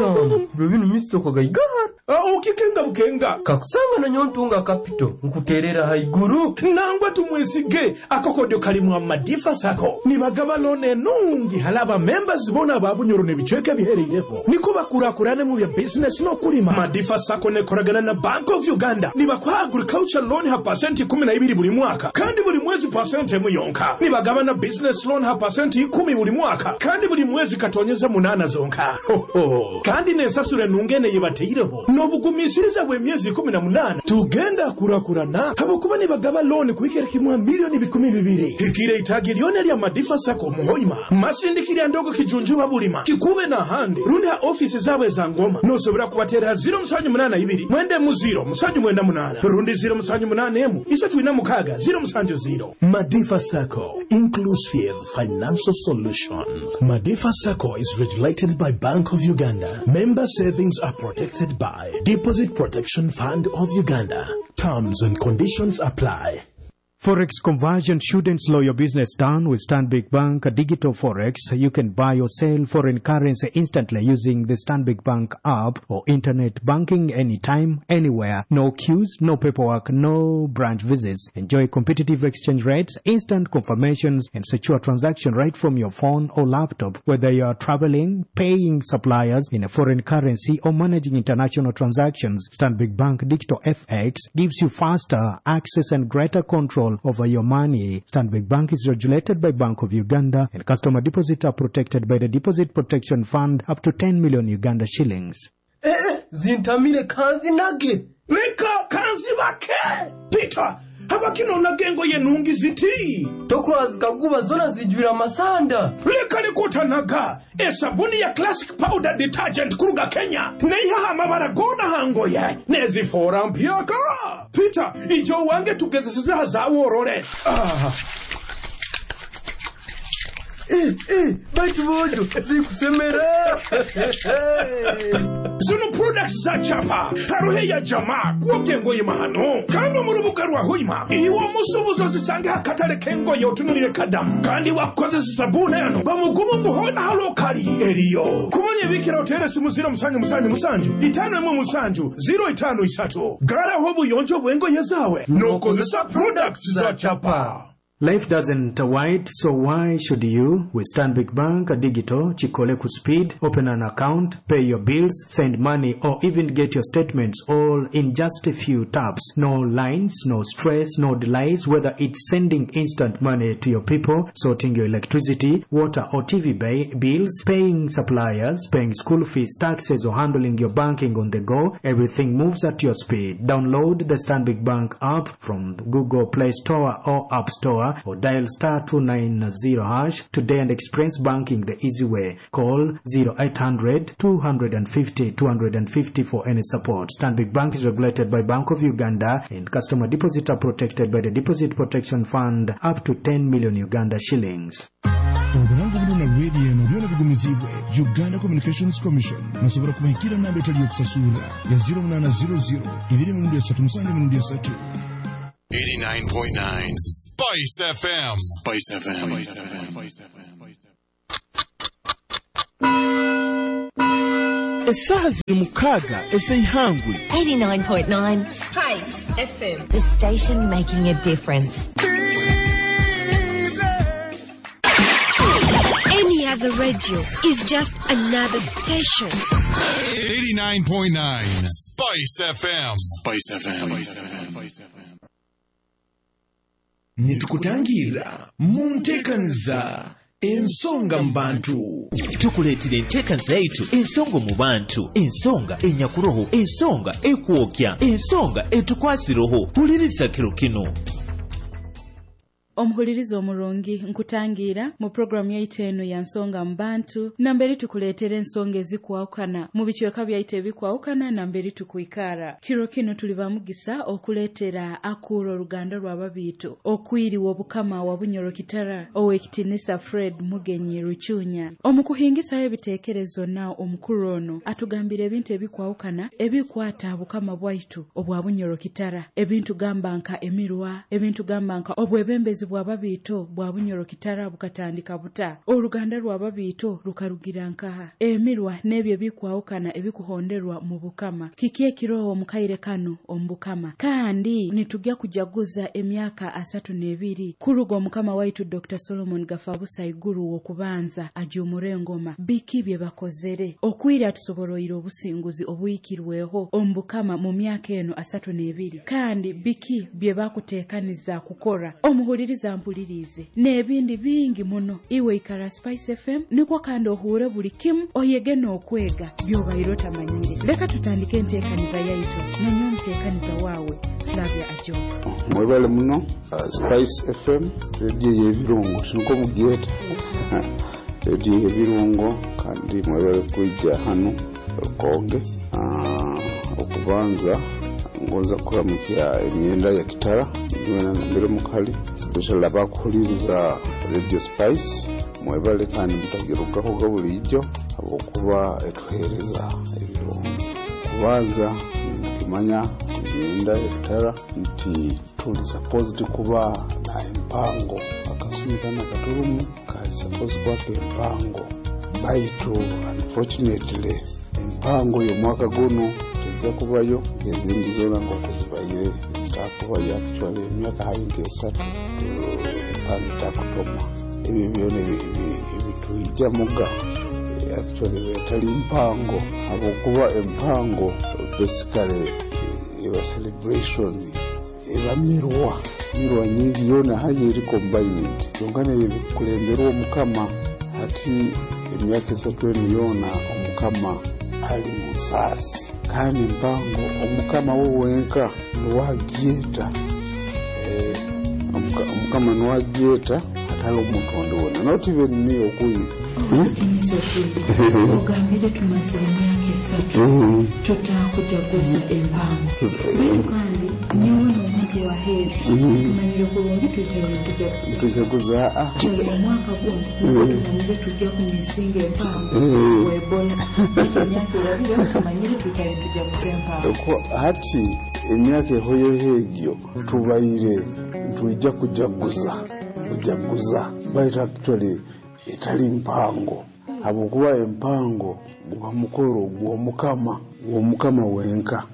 Kusanga biro binu misito kagaigahara. Ukikenga bukenga. Kakusanga na nyontunga kapito nkuterera haiguru. Nangwa tumwesige akokodyo kalimu amadifa sako nibagaba loan enungi halaba members bona ba Bunyoro n'ebicweka bihereireho niko bakurakurane mu bya business n'okulima. Madifa Sacco nekoragana na Bank of Uganda, nibakuha agriculture loan ha 12% buli mwaka kandi buli mwezi 1% yonka. Nibagaba na business loan ha 10% buli mwaka kandi buli mwezi 8.8 zonka. Ho, ho. Kandi nensasura enungene yebateireho n'obugumisiriza bw'emyezi 18. Tugenda kurakurana habwokuba nibagaba loan kuhikira kimwa 200,000,000. Hikire itagi lyona lya Madifa Sacco muhoima masindikirya ndogo kijunjuba bulima kikube na hande rundi ha ofisi zaabwe za ngoma. Nosobora kubatera 078 mwende mu 0 798 rundi 0 78 emu 346 070. Madifa Sacco, inclusive financial solutions. Madifa Sacco is regulated by Bank of Uganda. Member savings are protected by Deposit Protection Fund of Uganda. Terms and conditions apply. Forex conversion shouldn't slow your business down. With Stanbic Bank Digital Forex, you can buy or sell foreign currency instantly using the Stanbic Bank app or internet banking anytime, anywhere. No queues, no paperwork, no branch visits. Enjoy competitive exchange rates, instant confirmations, and secure transaction right from your phone or laptop. Whether you are traveling, paying suppliers in a foreign currency, or managing international transactions, Stanbic Bank Digital FX gives you faster access and greater control over your money. Stanbic Bank is regulated by Bank of Uganda, and customer deposits are protected by the Deposit Protection Fund up to 10 million Uganda shillings. Zintamire kanzinage. Leka kanzibake. Peter, habakino gengo yenungi ziti. Tokura zikaguba zona zijwira amasanda. Leka likutanaga esabuni ya Classic Powder Detergent kuruga Kenya neihaha amabara gona hangoye nezifora mpyaka. Peter, ijo wange tugezeseza zaworore. Baitu bojo zikusemera. Zino products za chapa haruhe ya jamaa kuoke ngoye mahano kandi mu rubuga rwa hoima iwo musubuzo zisange hakatale kengoye otunulire kadamu kandi wakozesa sabuni yano bamugumu nguhona halokali eriyo kumanya bikira otere simu 0 7 7 7 5 1 7 0 5 3 garaho buyonjo bwengoye zawe nokozesa products za chapa. Life doesn't wait, so why should you? With Stanbic Bank Digital, Chikole Speed, open an account, pay your bills, send money, or even get your statements all in just a few taps. No lines, no stress, no delays, whether it's sending instant money to your people, sorting your electricity, water or TV bills, paying suppliers, paying school fees, taxes, or handling your banking on the go, everything moves at your speed. Download the Stanbic Bank app from Google Play Store or App Store, or dial star 290# today and experience banking the easy way. Call 0800 250 250 for any support. Stanbic Bank is regulated by Bank of Uganda, and customer deposits are protected by the Deposit Protection Fund up to 10 million Uganda shillings. Obulango buno na radio eno byona bigumizibwe Uganda Communications Commission. Musobola kubahikira namba etali yokusasula ya 0800 2 3 7 3. 89.9 Spice FM. Spice FM. Spice FM. Esaha ziri 6 ez'eihangwe. 89.9 Spice FM. The station making a difference. Any other radio is just another station. 89.9 Spice FM. Spice FM. Spice FM. Nitukutangira mu nteekaniza ensonga mu bantu. Tukuleetera enteekaniza yaitu ensonga mu bantu, ensonga enyakuroho, ensonga ekwokya, ensonga etukwasiroho. Huliriza kiro kino. Omuhuliriza omurungi, nkutangira mu programu yaitu eno ya nsonga mu bantu, namberi tukuleetera ensonga ezikwawukana mu bicweka byaitu ebikwawukana namberi tukwikara. Kiro kino tuli bamugisa okuleetera akuura oruganda rw'ababiitu okwiriwa obukama wa Bunyoro Kitara, ow'ekitinisa Fred Mugenyi Rucunya. Omu kuhingisayo ebiteekerezo na omukuru ono atugambira ebintu ebikwawukana ebikwata bukama bwaitu obwa Bunyoro Kitara, ebintu gamba nka emirwa, ebintu gamba nka obwebembezi Bw'ababiito bwa Bunyoro Kitara bukatandika buta? Oruganda rw'ababiito rukarugira nkaha? Emirwa n'ebyo ebikwahukana ebikuhonderwa mu Bukama. Kiki ekiroho omu kaire kanu omu Bukama? Kandi nitujya kujaguza emyaka 32 kuruga Omukama waitu Dr. Solomon Gafabusa Iguru w'okubanza ajuumura engoma. Biki bye bakozere? Okwira tusoboroire obusinguzi obuhikirweho omu Bukama mu myaka eno 32. Kandi biki bye bakuteekaniza kukora? Omuhuliriza mpulirize n'ebindi bingi muno. Iwe ikara Spice FM nikwo kandi ohure buli kimu, oyege n'okwega by'obaire otamanyire. Leka tutandike enteekaniza yaitu nanyowe omuteekaniza waawe Flavia Ajok. Mwebale muno Spice FM, rediyo y'ebirungo, tiniko mugyeta rediyo y'ebirungo. Kandi mwebale kwija hanu Rukonge. Okubanza ngonza kuramukya emyenda ya Kitara nywena nambere mukali, especially abakuhuliriza Radio Spice. Mwebale kandi mutagirugaho bulijjo habwokuba etuheereza ebirungo. Kubanza nikimanya emyenda ya Kitara nti tuli supposed kuba na empango. Akasumi kana katurumu kali supposed kuba empango, baitu unfortunately empango y'omwaka guno tejja kubayo ezindi zoona nk'oku zibaire zitakubayo. Actually emyaka hayi nk'esatu empango etakutoma. Ebyo byona ebituijamuga actually etali mpango, habwokuba empango basically eba celebration, eba mirwa nyingi yoona hayi eri combined, kyonka nekulemberwa Omukama. Hati emyaka 3 enu yoona Omukama ali mu nsaasi, kandi mpango Omukama we wenka niwagyeta. Omukama niwagyeta, hatali omuntu ondi wona, not even me okuyi. Ogambire tumazire emyaka 3 tutakujaguza empango, baitu kandi nyowe n'omuntu wa heeri tumanyire kurungi twikaire tujaguza omwaka guno tumanyire tujja kumisinga empango webola, baitu emyaka erabire tumanyire twikaire tujaguza empango. Hati emyaka ehoyeho egyo tubaire ntwijja kujaguza baitu actually etali mpango, habwokuba empango guba mukoro gw'Omukama, gw'Omukama wenka.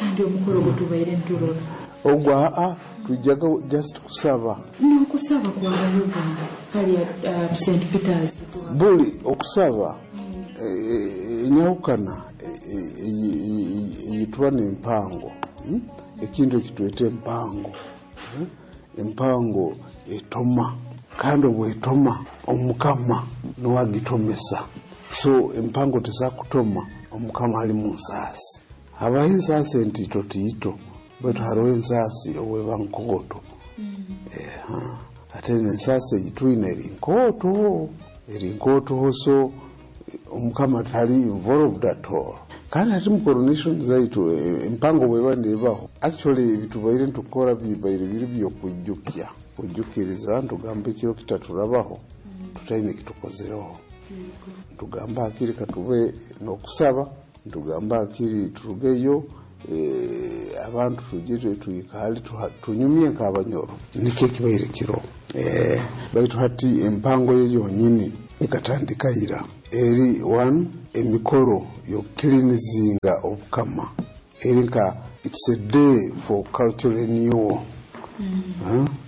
Kandi omukoro gwe tubaire nturora ogwo twijaga just kusaba. N'okusaba kwabayoga hali St. Peters buli okusaba enyahukana eyitwa n'empango. Ekintu ekitweta empango, empango etoma, kandi obwetoma Omukama niwagitomesa. So empango tezakutoma Omukama ali mu nsaasi. Habaho ensaasi entito tiito, baitu hariho ensaasi obweba nkooto. Ate n'ensaasi eyitwine eri nkooto, eri nkooto. So Omukama tali involved at all. Kandi hati mu coronation zaitu empango bweba nebaho, actually ebitubaire ntukora bibaire biri byokwijukya, kwijukiriza. Ntugamba ekiro kitaturabaho tutaine kitukozereho, ntugamba hakiri katube n'okusaba, ntugamba hakiri turugeyo abantu tugire tuikale tunyumye nk'abanyoro, nikyo ekibaire kiro. Baitu hati empango ye yonyini ekatandika ira, eri one emikoro y'okukilinizinga Obukama, eri nka it's a day for cultural renewal,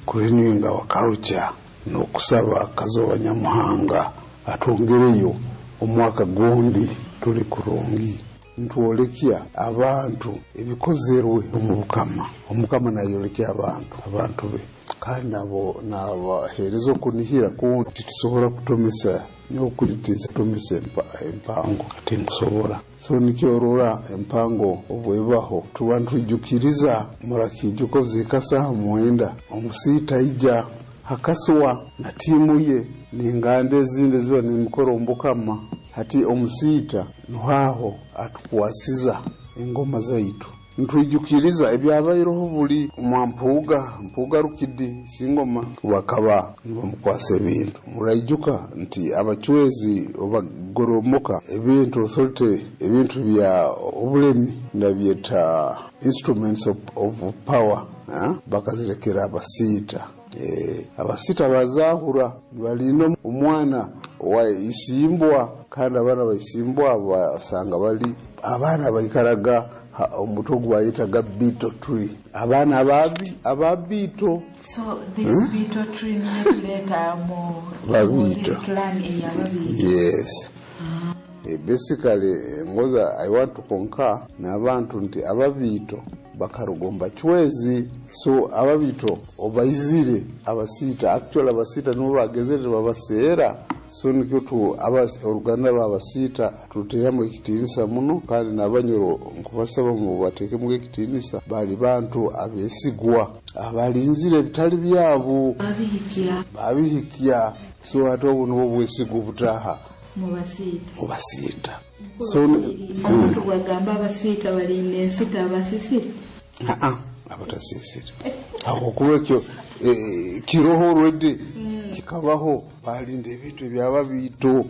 kurenewing our culture n'okusaba Kazoba Nyamuhanga atwongereyo omwaka gundi tuli kurungi. Ntwolekya abantu ebikozerwe omu Bukama. Omukama nayolekya abantu be, kandi nabo nabaheereza okunihira kundi titusobola kutomesa nyokulitiza kutomesa empango tinkusobora. So nikyorora empango obwebaho tuba ntwijukiriza. Murakijuka zika saha 9 omusiita ija hakaswa na tiimu ye n'enganda ezindi ziba n'emikoro omu Bukama. Hati omusiita nuhaho atukwasiza engoma zaitu, ntwijukiriza ebyabaireho buli mwampuuga mpuuga rukidi singoma bakaba nibamukwasa ebintu. Muraijuka nti abacwezi obagoromoka ebintu authority, ebintu bya obulemi nabyeta instruments of power, bakazirekera abasiita. Abasita bazahura nibalinda omwana wa Isimbwa, kandi abaana ba Isimbwa basanga bali abaana baikaraga omuti ogu bayetaga betel tree, abaana aba Biito. So this betel tree niyo tuleeta mu Babiito. This clan ey'Ababiito. Yes. Basically ngoza I want to concur n'abantu nti Ababiito bakarugomba Chwezi. So Ababiito obaizire Abasiita, actually Abasiita nibo bagezere babaseera. So nikyo tu oruganda rw'Abasiita tuteramu ekitiinisa muno, kandi n'Abanyoro nkubasaba mu bateekemu ekitiinisa. Bali bantu abeesigwa abalinzire ebitali byabo. Babihikya. Babihikya. So ate obu nibwo bwesigwa obutaha mu Basiita. Mu Basiita. So omuntu bwagamba Abasiita balinda ensita, abasisire? Aa, abatasisire aho kuba ekyo kiroho already, kikabaho. Balinda ebintu eby'Ababiito.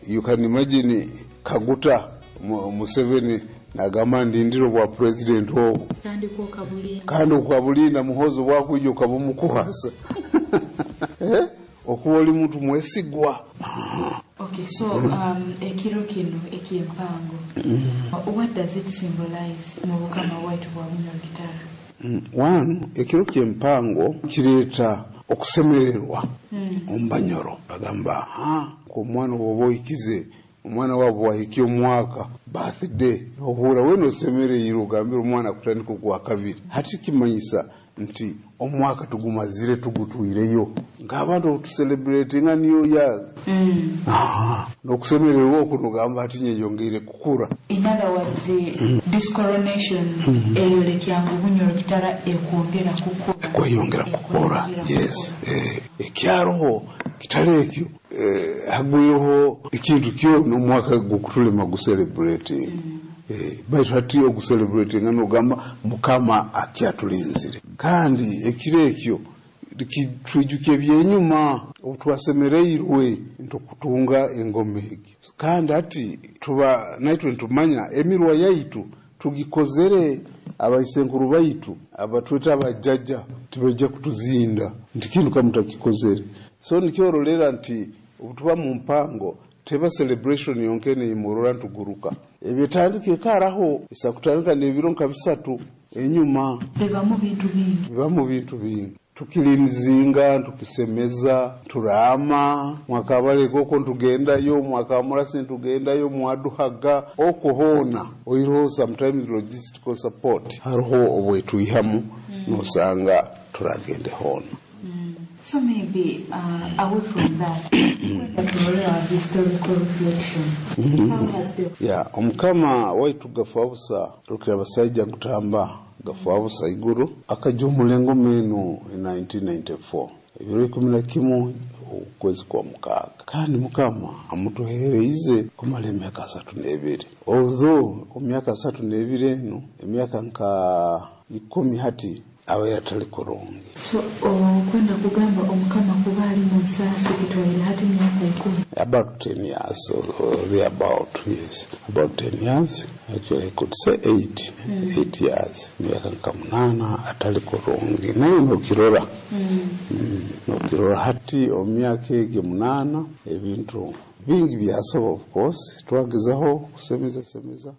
You can imagine Kaguta Museveni nagamba ndindire obwa president obu. Kandi kwokabulinda. Kandi okabulinda, Muhozi bwakwija okabumukwasa. Okuba oli muntu mwesigwa. Okay, so ekiro kino ekyempango, what does it symbolize mu bukama bwaitu bwa Bunyoro Kitara? One, ekiro kyempango kireeta okusemererwa omu Banyoro. Bagamba omwana bwoba ohikize, omwana waabo wahikia omwaka, birthday, ohura wena osemereire, ogambire omwana kutandika ogwa kabiri. Hati kimanyisa nti omwaka tugumazire, tugutwireyo nk'abantu otucelebratinga New Years. N'okusemererwa oku nogamba ati nyeyongeire kukura. In other words, this coronation eyolekya ngu Bunyoro Kitara ekwongera kukura. Kweyongera kukura, yes. Ekyaroho kitali ekyo, hagwireho ekintu kyona omwaka gukutulema gucelebrating. Baitu hati ogucelebratinga nogamba Mukama akyatulinzire, kandi ekiro ekyo twijuka ebyenyuma obu twasemereirwe ntukutunga engoma egi, kandi hati tuba naitwe nitumanya emirwa yaitu tugikozere. Abaisenkuru baitu abatweta abajjaja tibaija kutuzinda nti kintu kamutakikozere. So nikyorolera nti obutuba mu mpango teba celebration yonkene imurora ntuguruka, ebyetandika ekaraho isa kutandika n'ebiro nka 3 enyuma. Bibamu bintu bingi. Bibamu bintu bingi, tukilinzinga, tukisemeza, turama mwakabaleka okwo ntugendayo, mwakamurasi ntugendayo, mwaduhaga okwo hoona. Oiroho sometimes logistical support hariho obwetwihamu, nosanga turagende hoona. So maybe away from that, kwenda historical reflection. How has the Ya, omukama waitu Gafabusa Rukira Basaija Gutamba Gafabusa Iguru akajumula engoma eno in 1994, ebiro 11 okwezi kwa 6, kandi Mukama amutuhereize kumala emyaka 32. Although omu myaka 32 eno, emyaka nka 10 hati aba yatali kurungi. So okwenda kugamba omukama kuba ali mu nsaasi kitwaire hati myaka 10. About 10 years or thereabout, yes, about 10 years. Actually I could say 8. 8 years, emyaka nka 8 atali kurungi, naye nokirora. Nokirora hati omu myaka egyo 8 ebintu bingi byasoba. Of course twagezaho kusemeza semeza.